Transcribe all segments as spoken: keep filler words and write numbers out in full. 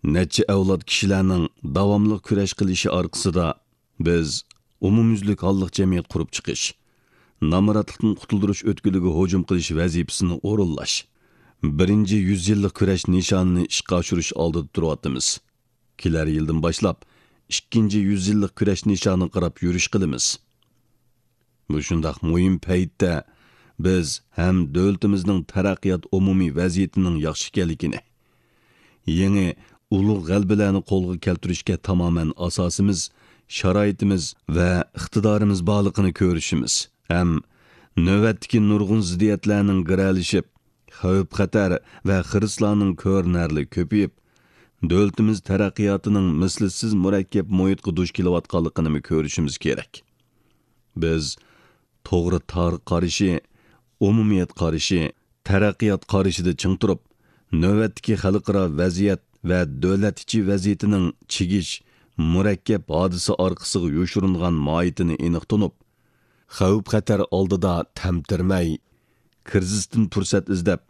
نەچچە ئەۋلاد كىشىلەرنىڭ داۋاملىق كۈرەش قىلىشى ئارقىسىدا، بىز ئومۇميۈزلۈك ھاللىق جەمئىيەت قۇرۇپ چىقىش، نامراتلىقتىن قۇتۇلدۇرۇش ئۆتكىلىگە ھۇجۇم قىلىش ۋەزىپىسىنى ئورۇنلاش، بىرىنچى يۈز يىللىق كۈرەش نىشانىنى ئىشقا ئاشۇرۇش ئالدىدا تۇرۇۋاتىمىز. كېلەر يىلدىن باشلاپ، ئىككىنچى يۈز يىللىق كۈرەش نىشانىغا قاراپ يۈرۈش قىلىمىز. مۇشۇنداق مۇھىم پەيتتە بىز ھەم دۆلىتىمىزنىڭ تەرەققىيات ئومۇمىي ۋەزىيىتىنىڭ ياخشى ئىكەنلىكىنى، يېڭى ئۇلۇغ غەلىبىلەرنى قولغا كەلتۈرۈشكە تامامەن ئاساسىمىز، شارائىتىمىز ۋە ئىقتىدارىمىز بارلىقىنى كۆرۈشىمىز ھەم نۆۋەتتىكى نۇرغۇن زىددىيەتلەرنىڭ گىرەلىشىپ، خەۋپ-خەتەر ۋە خىرىسلارنىڭ كۆرۈنەرلىك كۆپىيىپ، دۆلىتىمىز تەرەققىياتىنىڭ مىسلىسىز مۇرەككەپ مۇھىتقا دۇچ كېلىۋاتقانلىقىنىمۇ كۆرۈشىمىز كېرەك. بىز توغرا تارىخ قارىشى، ئومۇمىيەت قارىشى، تەرەققىيات قارىشىدا چىڭ تۇرۇپ، نۆۋەتتىكى خەلقئارا ۋەزىيەت ۋە دۆلەت ئىچى ۋەزىيىتىنىڭ چىگىش، مۇرەككەپ ھادىسە ئارقىسىغا يوشۇرۇنغان ماھىيىتىنى ئېنىق تونۇپ، خەۋپ-خەتەر ئالدىدا تەمتىرىمەي، كىرىزىستىن پۇرسەت ئىزدەپ،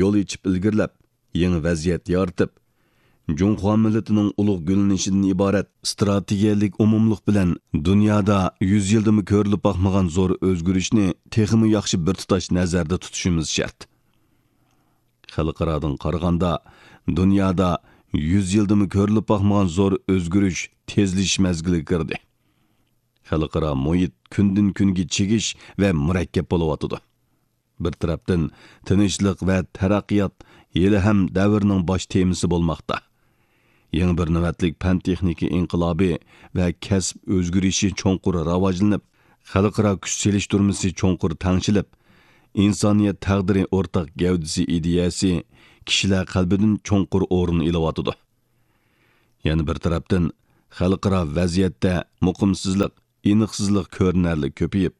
يول ئېچىپ ئىلگىرىلەپ، يېڭى ۋەزىيەت يارىتىپ، جۇڭخۇا مىللىتىنىڭ ئۇلۇغ گۈللىنىشىدىن ئىبارەت ئىستراتېگىيەلىك ئومۇملۇق بىلەن دۇنيادا يۈز يىلدىمۇ كۆرۈلۈپ باقمىغان زور ئۆزگىرىشنى تېخىمۇ ياخشى بىر تۇتاش نەزەردە تۇتۇشىمىز شەرت. خەلقئارادىن قارىغاندا، دۇنيادا يۈز يىلدىمۇ كۆرۈلۈپ باقمىغان زور ئۆزگىرىش تېزلىشىش مەزگىلىگە كىردى. خەلقئارا مۇھىت كۈندىن-كۈنگە چىگىش ۋە مۇرەككەپ بولۇۋاتىدۇ. بىر تەرەپتىن، تىنچلىق ۋە تەرەققىيات ھېلىھەم دەۋرنىڭ باش تېمىسى بولماقتا. يېڭى بىر نۆۋەتلىك پەن-تېخنىكا ئىنقىلابى ۋە كەسىپ ئۆزگىرىشى چوڭقۇر راۋاجلىنىپ، خەلقئارا كۈچ سېلىشتۇرمىسى چوڭقۇر تەڭشىلىپ، ئىنسانىيەت تەقدىرى ئورتاق گەۋدىسى ئىدىيەسى كىشىلەر قەلبىدىن چوڭقۇر ئورۇن ئېلىۋاتىدۇ. يەنە بىر تەرەپتىن، خەلقئارا ۋەزىيەتتە مۇقىمسىزلىق، ئېنىقسىزلىق كۆرۈنەرلىك كۆپىيىپ،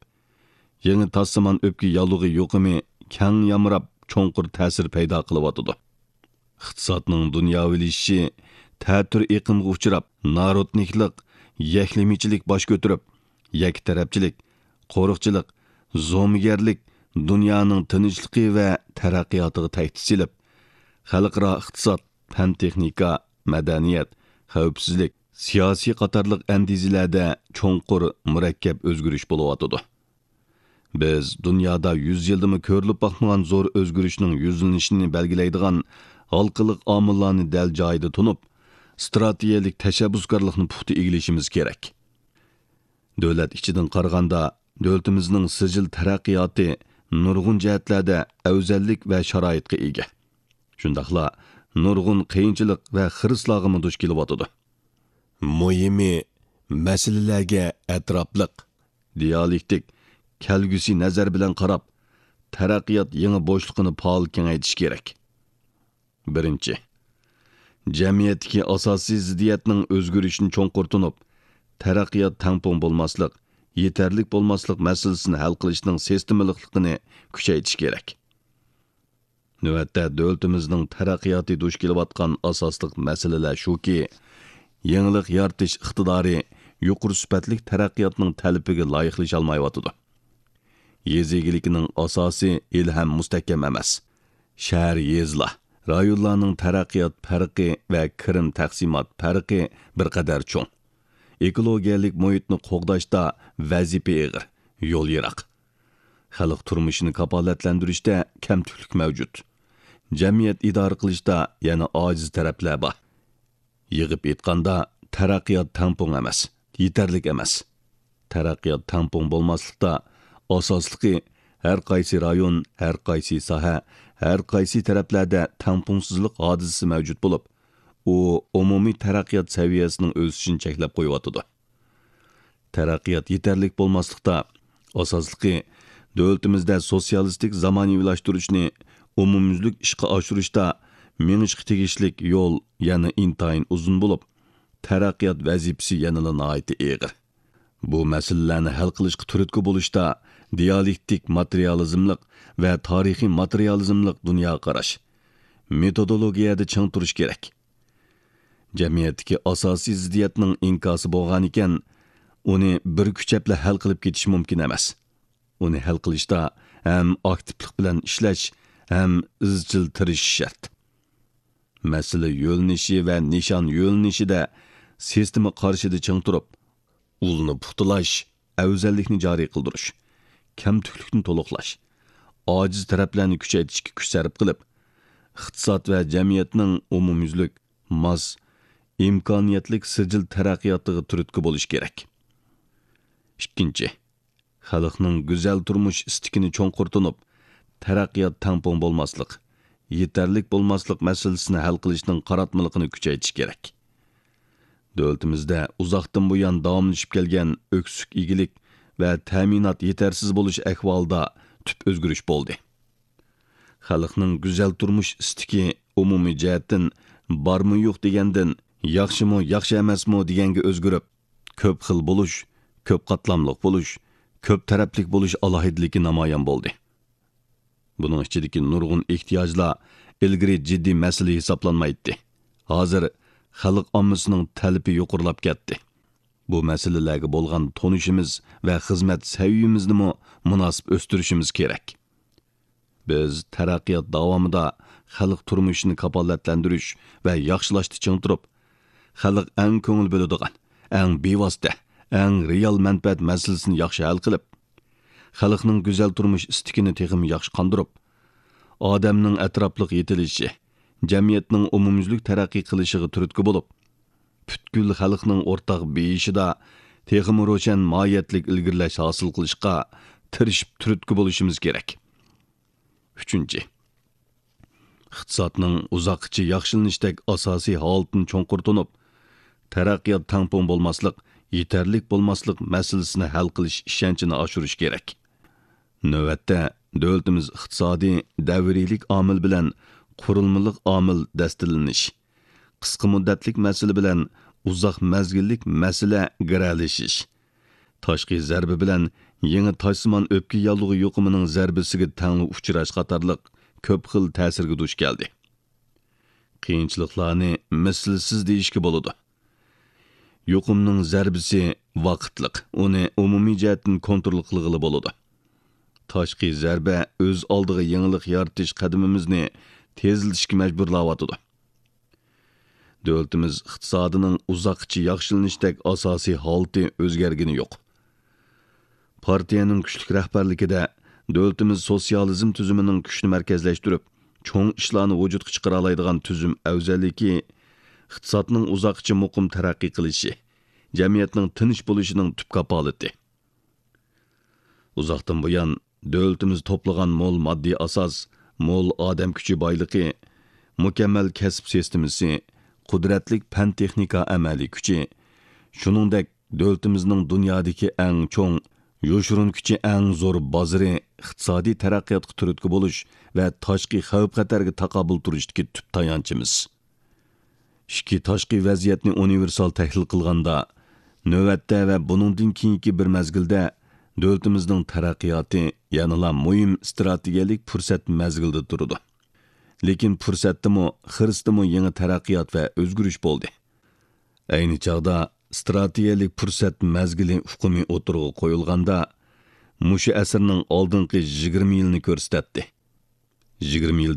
يېڭى تاسسىمان ئۆپكە ياللۇغى يۇقۇمى كەڭ يامراپ، چوڭقۇر تەسىر پەيدا قىلىۋاتىدۇ. ئىقتىسادنىڭ دۇنياۋىلىشىشى تەتۈر ئېقىمغا ئۇچراپ، نارودنىكلىق، يەكلىمىچىلىك باش كۆتۈرۈپ، يەككە تەرەپچىلىك، قورۇقچىلىق، زومىگەرلىك دۇنيانىڭ تىنچلىقى ۋە تەرەققىياتىغا تەھدىت سېلىپ، خەلقئارا ئىقتىساد، پەن-تېخنىكا، مەدەنىيەت، خەۋپسىزلىك، سىياسىي قاتارلىق ئەندىزىلەردە چوڭقۇر، مۇرەككەپ ئۆزگىرىش بولۇۋاتىدۇ. بىز دۇنيادا يۈز يىلدىمۇ كۆرۈلۈپ باقمىغان زور ئۆزگىرىشنىڭ يۈزلىنىشىنى بەلگىلەيدىغان ھالقىلىق ئامىللارنى دەل جايىدا تونۇپ، ئىستراتېگىيەلىك تەشەببۇسكارلىقنى پۇختا ئىگىلىشىمىز كېرەك. دۆلەت ئىچىدىن قارىغاندا، دۆلىتىمىزنىڭ سىجىل تەرەققىياتى نۇرغۇن جەھەتلەردە ئەۋزەللىك ۋە شارائىتقا ئىگە. شۇنداقلا نۇرغۇن قىيىنچىلىق ۋە خىرىسلارغىمۇ دۇچ كېلىۋاتىدۇ. مۇھىمى، مەسىلىلەرگە ئەتراپلىق، دىئالېكتىك، كەلگۈسى نەزەر بىلەن قاراپ، تەرەققىيات يېڭى بوشلۇقىنى پائال كېڭەيتىش كېرەك. بىرىنچى، جەمئىيەتتىكى ئاساسىي زىددىيەتنىڭ ئۆزگىرىشىنى چوڭقۇر تونۇپ، تەرەققىيات تەڭپۇڭ بولماسلىق، يېتەرلىك بولماسلىق مەسىلىسىنى ھەل قىلىشنىڭ سىستېمىلىقلىقىنى كۈچەيتىش كېرەك. نۆۋەتتە دۆلىتىمىزنىڭ تەرەققىياتى دۇچ كېلىۋاتقان ئاساسلىق مەسىلىلەر شۇكى، يېڭىلىق يارىتىش ئىقتىدارى يۇقىرى سۈپەتلىك تەرەققىياتنىڭ تەلىپىگە لايىقلىشالمايۋاتىدۇ. يېزا ئىگىلىكىنىڭ ئاساسى ھېلىھەم مۇستەھكەم ئەمەس. شەھەر، يېزىلار، رايونلارنىڭ تەرەققىيات پەرقى ۋە كىرىم تەقسىمات پەرقى بىر قەدەر چوڭ. ئېكولوگىيەلىك مۇھىتنى قوغداشتا ۋەزىپە ئېغىر، يول يىراق. خەلق تۇرمۇشىنى كاپالەتلەندۈرۈشتە كەمتۈكلۈك مەۋجۇت. جەمئىيەت ئىدارە قىلىشتا يەنە ئاجىز تەرەپلەر بار. يىغىپ ئېيتقاندا، تەرەققىيات تەڭپۇڭ ئەمەس، يېتەرلىك ئەمەس. تەرەققىيات تەڭپۇڭ بولماسلىقتا، ئاساسلىقى، ھەر قايسى رايون، ھەر قايسى ساھە، ھەر قايسى تەرەپلەردە تەڭپۇڭسىزلىق ھادىسىسى مەۋجۇت بولۇپ، ئۇ ئومۇمىي تەرەققىيات سەۋىيەسىنىڭ ئۆسۈشىنى چەكلەپ قويۇۋاتىدۇ. تەرەققىيات يېتەرلىك بولماسلىقتا، ئاساسلىقى، دۆلىتىمىزدە سوتسىيالىستىك زامانىۋىلاشتۇرۇشنى ئومۇميۈزلۈك ئىشقا ئاشۇرۇشتا مېڭىشقا تېگىشلىك يول يەنە ئىنتايىن ئۇزۇن بولۇپ، تەرەققىيات ۋەزىپىسى يەنىلا ناھايىتى ئېغىر. بۇ مەسىلىلەرنى ھەل قىلىشقا تۈرتكە بولۇشتا دىئالېكتىك ماتېرىيالىزملىق ۋە تارىخىي ماتېرىيالىزملىق دۇنيا قاراش، مېتودولوگىيەدە چىڭ تۇرۇش كېرەك. جەمئىيەتتىكى ئاساسىي زىددىيەتنىڭ ئىنكاسى بولغانىكەن، ئۇنى بىر كۈچەپلا ھەل قىلىپ كېتىش مۇمكىن ئەمەس. ئۇنى ھەل قىلىشتا ھەم ئاكتىپلىق بىلەن ئىشلەش، ھەم ئىزچىل تىرىشىش شەرت. مەسىلە يۆنىلىشى ۋە نىشان يۆنىلىشىدە سىستېما قارىشىدا چىڭ تۇرۇپ، ئۇلنى پۇختىلاش، ئەۋزەللىكنى جارى قىلدۇرۇش، كەمتۈكلۈكنى تولۇقلاش، ئاجىز تەرەپلەرنى كۈچەيتىشكە كۈچ سەرپ قىلىپ، ئىقتىساد ۋە جەمئىيەتنىڭ ئومۇميۈزلۈك، ماس، ئىمكانىيەتلىك سىجىل تەرەققىياتىغا تۈرتكە بولۇش كېرەك. ئىككىنچى، خەلقنىڭ گۈزەل تۇرمۇش ئىستىكىنى چوڭقۇر تونۇپ، تەرەققىيات تەڭپۇڭ بولماسلىق، يېتەرلىك بولماسلىق مەسىلىسىنى ھەل قىلىشنىڭ قاراتمىلىقىنى كۈچەيتىش كېرەك. دۆلىتىمىزدە ئۇزاقتىن بۇيان داۋاملىشىپ كەلگەن ئۆكسۈك ئىگىلىك ۋە تەمىنات يېتەرسىز بولۇش ئەھۋالىدا تۈپ ئۆزگىرىش بولدى. خەلقنىڭ گۈزەل تۇرمۇش ئىستىكى ئومۇمىي جەھەتتىن بارمۇ يوق دېگەندىن، ياخشىمۇ ياخشى ئەمەسمۇ دېگەنگە ئۆزگىرىپ، كۆپ خىل بولۇش، كۆپ قاتلاملىق بولۇش، كۆپ تەرەپلىك بولۇش ئالاھىدىلىكى نامايان بولدى. بۇنىڭ ئىچىدىكى نۇرغۇن ئېھتىياجلار ئىلگىرى جىددىي مەسىلە ھېسابلانمايتتى. ھازىر خەلق ئاممىسىنىڭ تەلىپى يۇقىرىلاپ كەتتى. بۇ مەسىلىلەرگە بولغان تونۇشىمىز ۋە خىزمەت سەۋىيىمىزنىمۇ مۇناسىپ ئۆستۈرۈشىمىز كېرەك. بىز تەرەققىيات داۋامىدا خەلق تۇرمۇشىنى كاپالەتلەندۈرۈش ۋە ياخشىلاشتا چىڭ تۇرۇپ، خەلق ئەڭ كۆڭۈل بۆلىدىغان، ئەڭ بىۋاسىتە، ئەڭ رېئال مەنپەئەت مەسىلىسىنى ياخشى ھەل قىلىپ، خەلقنىڭ گۈزەل تۇرمۇش ئىستىكىنى تېخىمۇ ياخشى قاندۇرۇپ، ئادەمنىڭ ئەتراپلىق يېتىلىشى، جەمئىيەتنىڭ ئومۇميۈزلۈك تەرەققىي قىلىشىغا تۈرتكە بولۇپ، پۈتكۈل خەلقنىڭ ئورتاق بېيىشىدا تېخىمۇ روشەن ماھىيەتلىك ئىلگىرىلەش ھاسىل قىلىشقا تىرىشىپ تۈرتكە بولۇشىمىز كېرەك. ئۈچىنچى، ئىقتىسادنىڭ ئۇزاققىچە ياخشىلىنىشتەك ئاساسىي ھالىتىنى چوڭقۇر تونۇپ، تەرەققىيات تەڭپۇڭ بولماسلىق، يېتەرلىك بولماسلىق مەسىلىسىنى ھەل قىلىش ئىشەنچىنى ئاشۇرۇش كېرەك. نۆۋەتتە، دۆلىتىمىز ئىقتىسادىي دەۋرىيلىك ئامىل بىلەن قۇرۇلمىلىق ئامىل دەستىلىنىش، قىسقا مۇددەتلىك مەسىلە بىلەن ئۇزاق مەزگىللىك مەسىلە گىرەلىشىش، تاشقى زەربە بىلەن يېڭى تاشسىمان ئۆپكە ياللۇغى يۇقۇمىنىڭ زەربىسىگە تەڭلا ئۇچراش قاتارلىق كۆپ خىل تەسىرگە دۇچ كەلدى. قىيىنچىلىقلارنى مىسلىسىز دېيىشكە بولىدۇ. يۇقۇمنىڭ زەربىسى ۋاقىتلىق، ئۇنى ئومۇمىي جەھەتتىن كونترول قىلغىلى بولىدۇ. تاشقى زەربە ئۆز ئالدىغا يېڭىلىق يارىتىش قەدىمىمىزنى تېزلىتىشكە مەجبۇرلاۋاتىدۇ. دۆلىتىمىز ئىقتىسادىنىڭ ئۇزاققىچە ياخشىلىنىشتەك ئاساسىي ھالىتى ئۆزگەرگىنى يوق. پارتىيەنىڭ كۈچلۈك رەھبەرلىكىدە دۆلىتىمىز سوتسىيالىزم تۈزۈمىنىڭ كۈچنى مەركەزلەشتۈرۈپ، چوڭ ئىشلارنى ۋۇجۇدقا چىقىرالايدىغان تۈزۈم ئەۋزەللىكى، ئىقتىسادنىڭ ئۇزاققىچە مۇقىم تەرەققىي قىلىشى، جەمئىيەتنىڭ تىنچ بولۇشىنىڭ تۈپ كاپالىتى. ئۇزاقتىن بۇيان، دۆلىتىمىز توپلىغان مول ماددىي ئاساس، مول ئادەم كۈچى بايلىقى، مۇكەممەل كەسىپ سىستېمىسى، قۇدرەتلىك پەن-تېخنىكا ئەمەلىي كۈچى، شۇنىڭدەك دۆلىتىمىزنىڭ دۇنيادىكى ئەڭ چوڭ، يوشۇرۇن كۈچى ئەڭ زور بازىرى ئىقتىسادىي تەرەققىياتقا تۈرتكە بولۇش ۋە تاشقى خەۋپ-خەتەرگە تاقابىل تۇرۇشتىكى تۈپ تايانچىمىز. ئىچكى تاشقى ۋەزىيەتنى ئۇنىۋېرسال تەھلىل قىلغاندا، نۆۋەتتە ۋە بۇنىڭدىن كېيىنكى بىر مەزگىلدە دۆلىتىمىزنىڭ تەرەققىياتى يەنىلا مۇھىم ئىستراتېگىيەلىك پۇرسەت مەزگىلىدە تۇرىدۇ. لېكىن پۇرسەتتىمۇ، خىرىستىمۇ يېڭى تەرەققىيات ۋە ئۆزگىرىش بولدى. ئەينى چاغدا ئىستراتېگىيەلىك پۇرسەت مەزگىلى ئۇقۇمى ئوتتۇرىغا قويۇلغاندا، مۇشۇ ئەسىرنىڭ ئالدىنقى يىگىرمە يىلىنى كۆرسىتەتتى. يىگىرمە يىل